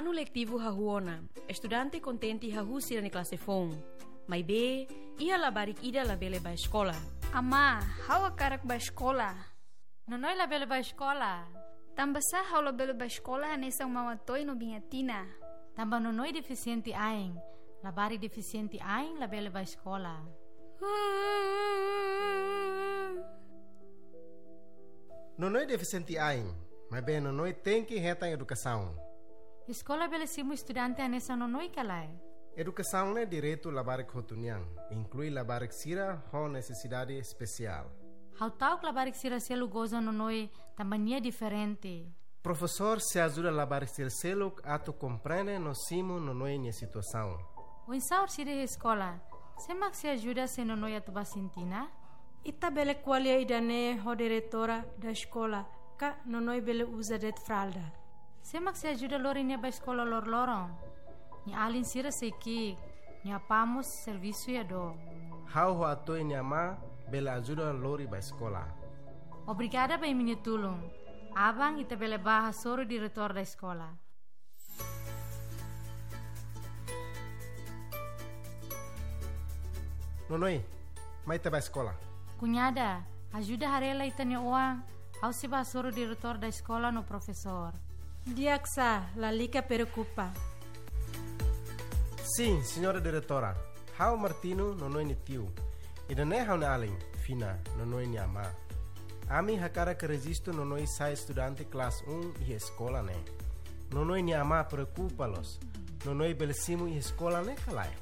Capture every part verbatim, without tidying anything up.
Anu letivu hahú ona, estudante kontente hahú sira-nia klase foun. Maibé, iha labarik ida labele bá eskola. Amá, ha'u hakarak bá eskola. Nonoi labele bá eskola. Tanbasá ha'u labele bá eskola hanesan Mama Toi no Biña Tina? Tanba Nonoi defisiente ain. Labarik defisiente ain labele bá eskola. Nonoi defisiente ain, maibé Nonoi tenke hetan edukasaun. Eskola bele simu estudante hanesan Nonoi ka lae? Edukasaun ne'e direitu labarik hotu nian, inklui labarik sira ho nesesidade espesiál. Ha'u ta'uk labarik sira seluk goza Nonoi tanba nia diferente. Profesór sei ajuda labarik sira seluk atu komprende no simu Nonoi nia situasaun. Oinsá orsida iha eskola? Sé mak sei ajuda se Nonoi atu bá sintina? Ita bele ko'alia ida-ne'e ho diretora da eskola, ka Nonoi bele uza de'it fralda. Sé mak sei ajuda lori nia bá eskola loroloron? Nia alin sira sei ki'ik, nia apá mós servisu iha dook. Ha'u ho Atoi nia amá bele ajuda lori bá eskola. Obrigada ba imi-nia tulun. Aban ita bele bá hasoru diretór da eskola. Nonoi, mai ita bá eskola. Kuñada, ajuda haree lai ita-nia oan, ha'u sei bá hasoru diretór da eskola no profesór. Di'ak sá, lalika preokupa. Sin, señora diretora. Ha'u Martino, Nonoi nia tiu. Ida-ne'e ha'u-nia alin, Fina, Nonoi nia amá. Ami hakarak rejistu Nonoi sai estudante klase un iha eskola ne'e. Nonoi nia amá preokupa loos. Nonoi bele simu iha eskola ne'e ka lae?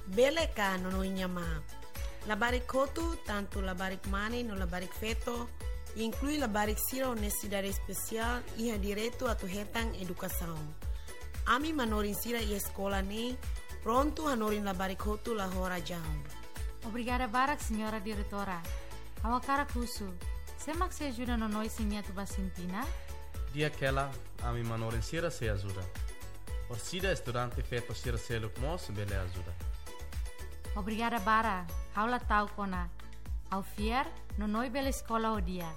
Bele ka, Nonoi nia amá. Labarik hotu, tantu labarik mane no labarik feto, inklui labarik sira ho nesesidade espesiál, iha direitu atu hetan edukasaun. Ami manorin sira iha eskola ne'e prontu hanorin labarik hotu la ho razaun. Obrigada barak, señora diretora. Ha'u hakarak husu, sé mak sei ajuda Nonoi se nia atu bá sintina? Di'ak hela, ami manorin sira sei ajuda. Orsida estudante feto sira seluk mós bele ajuda. Obrigada barak, ha'u la ta'uk ona. Ha'u fiar, Nonoi bele eskola ho di'ak.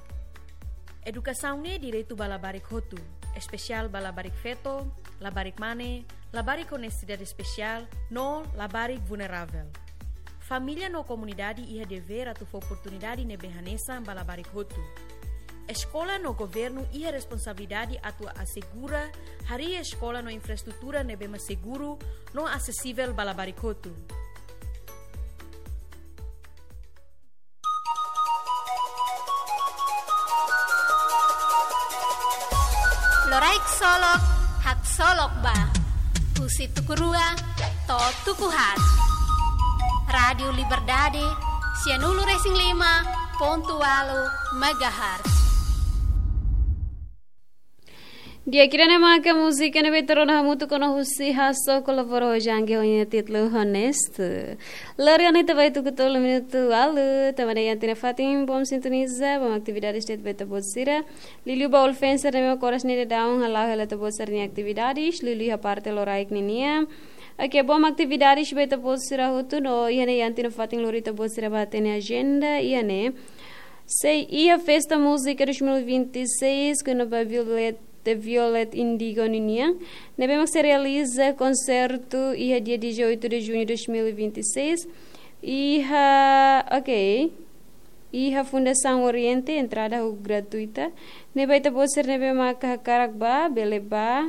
Edukasaun ne'e direitu ba labarik hotu, espesiál ba labarik feto, labarik mane, labarik ho nesesidade espesiál, no labarik vulneravel. Família no komunidade iha devér atu fó oportunidade ne'ebé hanesan ba labarik hotu. Eskola no governu iha responsabilidade atu asegura harii eskola no infraestrutura ne'ebé mak seguru no asesivel ba labarik hotu. Loraik solok, haksolok ba. Husi tuku rua to'o tuku haat. Rádiu Liberdade, sianulu resin lima pontu ualu megahertz. Di'ak, ida-ne'e maka múzika ne'ebé ita rona hamutuk ona husi Hasso kolabora ho Jang ho nia títulu Honesto. Lori ona ita ba tuku tolu minutu ualu, tanba ne'e iha ita-nia fatin, bom sintoniza, bom atividades de'it ba ita-boot sira. Liuliu ba ulfenser ne'ebé mak oras ne'e daudaun hala'o hela ita-boot sira-nia atividades, liuliu iha parte loraik ninian. Oke, bom atividades ba ita-boot sira hotu no iha ne'e iha ita-nia fatin lori ita-boot sira ba hatene ajenda, iha ne'e. Sei iha festa múzika dois mil e vinte e seis, kona-ba Violet, The Violet Indigo ninian. Ne'ebé mak sei realiza konsertu iha dia dezoito de junho de dois mil e vinte e seis. Iha, oke. Iha Fundasaun Oriente, entrada ho gratuita. Ne'ebé ita-boot sira ne'ebé maka hakarak ba, bele ba,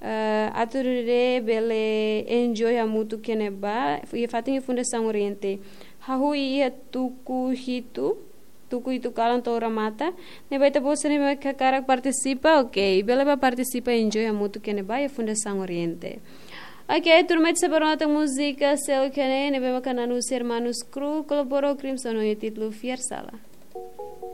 eh, atu nune'e bele enjoy hamutuk iha ne'ebá. Iha fatin iha Fundasaun Oriente. Hahú iha tuku hitu, tuku hitu kalan to'o remata. Ne'ebé ita-boot sira ne'ebé maka hakarak partisipa, oke. Bele ba partisipa enjoy hamutuk iha ne'ebá iha Fundasaun Oriente. Oke, tuirmai ita sei bá rona tan múzika seluk iha ne'e, ne'ebé maka nanusia Hermanos Cruz, kolabora ho Crimson ho nia títulu Fiar Sala.